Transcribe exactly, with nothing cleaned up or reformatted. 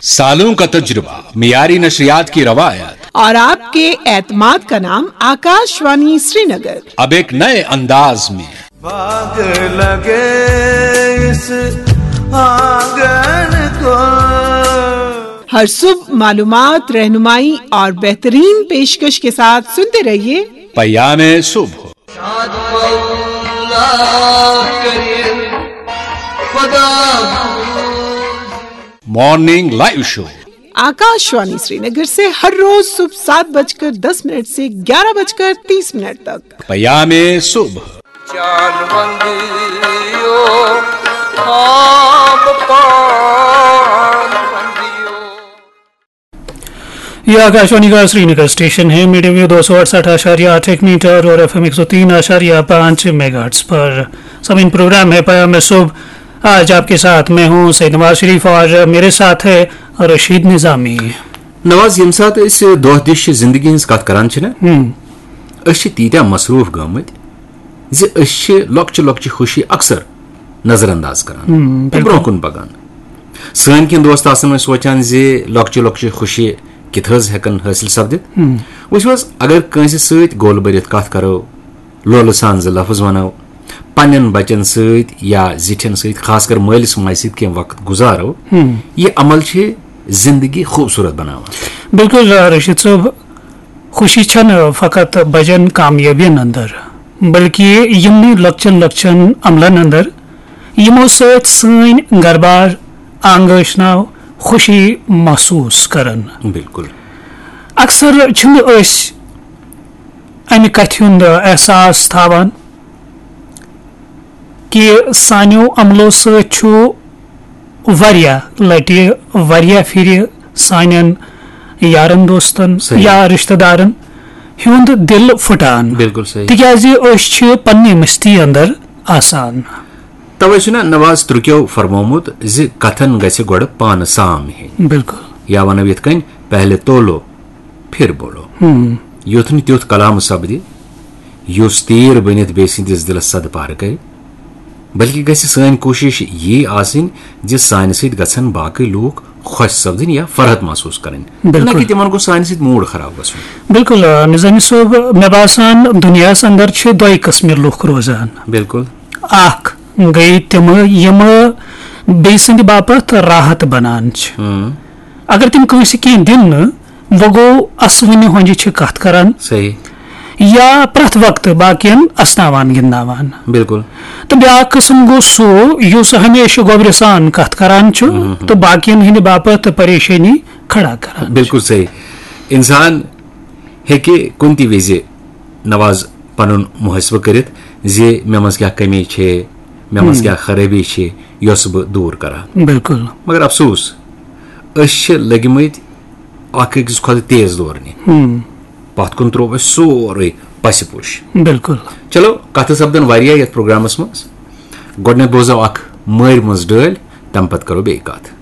सालों का तजुर्बा, मियारी नशरियात की रवायत। और आपके एतमाद का नाम आकाशवाणी श्रीनगर। अब एक नए अंदाज में। बाग लगे इस आंगन को। हर सुबह मालूमात, रहनुमाई और बेहतरीन पेशकश के साथ सुनते रहिए पयामे सुबह। Morning live show. Akashvani Srinagar से हर रोज सुबह सात बजकर दस मिनट से ग्यारह बजकर तीस मिनट तक। पयामे सुबह। ये आकाशवाणी का श्रीनगर स्टेशन है। मीडियम वेव दो सौ अड़सठ आशारिया आठ एक मीटर और एफ एम एक सौ तीन आशारिया पाँच मेगाहर्ट्ज पर। समीन, प्रोग्राम है पयामे सुबह। आज आपके साथ मैं हूं सैयद नवाज शरीफ और मेरे साथ है रशीद निजामी। नवाज, ییٚمہِ ساتہٕ أسۍ دۄہ دِش زندگی ہٕنٛز کتھ کران چھِ نا، ہم۔ أسۍ چھِ تیٖتیٛاہ مصروف گٔمٕتۍ زِ أسۍ چھِ لۄکچہِ لۄکچہِ خوشی اکثر نظر انداز کران ہم، تہٕ بِلکُل۔ برونٛہہ کُن پکان۔ سٲنۍ کینٛہہ دوست آسن وۄنۍ سونٛچان زِ لۄکچہِ لۄکچہِ خوشی کِتھ حظ ہٮ۪کن حٲصِل سپدِتھ؟ ہم۔ وٕچھِو حظ، اگر کٲنٛسہِ سۭتۍ گول بٔرِتھ کتھ کرو، لولہٕ سان زٕ لفظ ونو، پننٮ۪ن بچن سۭتۍ یا زِٹھٮ۪ن سۭتۍ، خاص کر مٲلِس ماجہِ سۭتۍ کینٛہہ وقت گُزارو، ہم۔ یہِ عمل چھِ زندگی خوٗبصوٗرت بناوان۔ بِلکُل، آ، رشید صٲب، خوشی چھنہٕ فقط بجن کامیٲبین اندر، بلکہ یِمنٕے لۄکچن لۄکچن عملن اندر، یِمو سۭتۍ سٲنۍ گربار، آنگٲشناو خوشی محسوس کران۔ بِلکُل۔ اکثر چھِنہٕ أسۍ امہِ کتھِ ہُنٛد احساس تھاوان کہِ سانیو عملو سۭتۍ چھُ واریاہ لٹہِ، واریاہ پھرِ سانٮ۪ن یارن دوستن صحیح۔ یا رشتہٕ دارن ہُنٛد دِل پھُٹان۔ بِلکُل صحیح۔ تِکیازِ أسۍ چھِ پننہِ مستی اندر آسان۔ توے چھُ نا نواز ترکیو فرمومُت زِ کتھن گژھِ گۄڈٕ پانہٕ سام ہیٚنۍ۔ بِلکُل۔ یا ونو یِتھ کٔنۍ، پہلے تولو، پھر بولو۔ ہم۔ یُتھ نہٕ تیُتھ کلام سپدِ، یُس تیٖر بٔنِتھ بیٚیہِ سٕنٛدِس دِلس صدٕ پارٕ کرِ، بلکہِ گژھِ سٲنۍ کوٗشش یی آسٕنۍ زِ سانہِ سۭتۍ گژھن باقٕے لوٗکھ خۄش سپدٕنۍ یا فرحت محسوس کرٕنۍ، نہ بِلکُل۔ کہِ تِمن گوٚژھ سانہِ سۭتۍ موٗڈ خراب گژھُن۔ بِلکُل، آ، نظامی صٲب، مےٚ باسان دُنیاہس اندر چھِ دۄیہِ قٕسمہِ لُکھ روزان۔ بِلکُل۔ اکھ گٔے تِم یِم بیٚیہِ سٕنٛدِ باپتھ راحت بنان چھِ۔ ہم۔ اگر تِم کٲنٛسہِ کینٛہہ دِن نہٕ، وۄنۍ گوٚو اسوٕنہِ ہۄنجہِ چھِ کتھ کران۔ صحیح۔ یا پرٛٮ۪تھ وقتہٕ باقین اسناوان گِنٛدناوان۔ بِلکُل۔ تہٕ بیٛاکھ قٕسم گوٚو سُہ یُس ہمیشہٕ گۄبرِ سان کتھ کران چھُ ہم۔ تہٕ باقین ہٕنٛدِ باپتھ پریشٲنی کھڑا کران۔ بِلکُل صحیح۔ انسان ہیٚکہِ کُنہِ تہِ وِزِ، نواز، پنُن محاسبہٕ کٔرِتھ زِ مےٚ منٛز کیٛاہ کٔمی چھے، مےٚ منٛز ہم۔ کیٛاہ خرٲبی چھے، یۄس بہٕ دوٗر کرٕ ہا۔ بِلکُل۔ مگر افسوس، أسۍ چھِ لٔگۍ مٕتۍ اکھ أکِس کھۄتہٕ تیز دورنہِ۔ ہم۔ پتھ کُن ترٛوو اَسہِ سورُے پسہِ پوٚش۔ بِلکُل۔ چلو، کتھٕ سپدن واریاہ یتھ پروگرامس منٛز۔ گۄڈٕنیتھ بوزو اکھ مٲرۍ مٔنٛز ڈٲلۍ، تمہِ پتہٕ کرو بیٚیہِ کتھ۔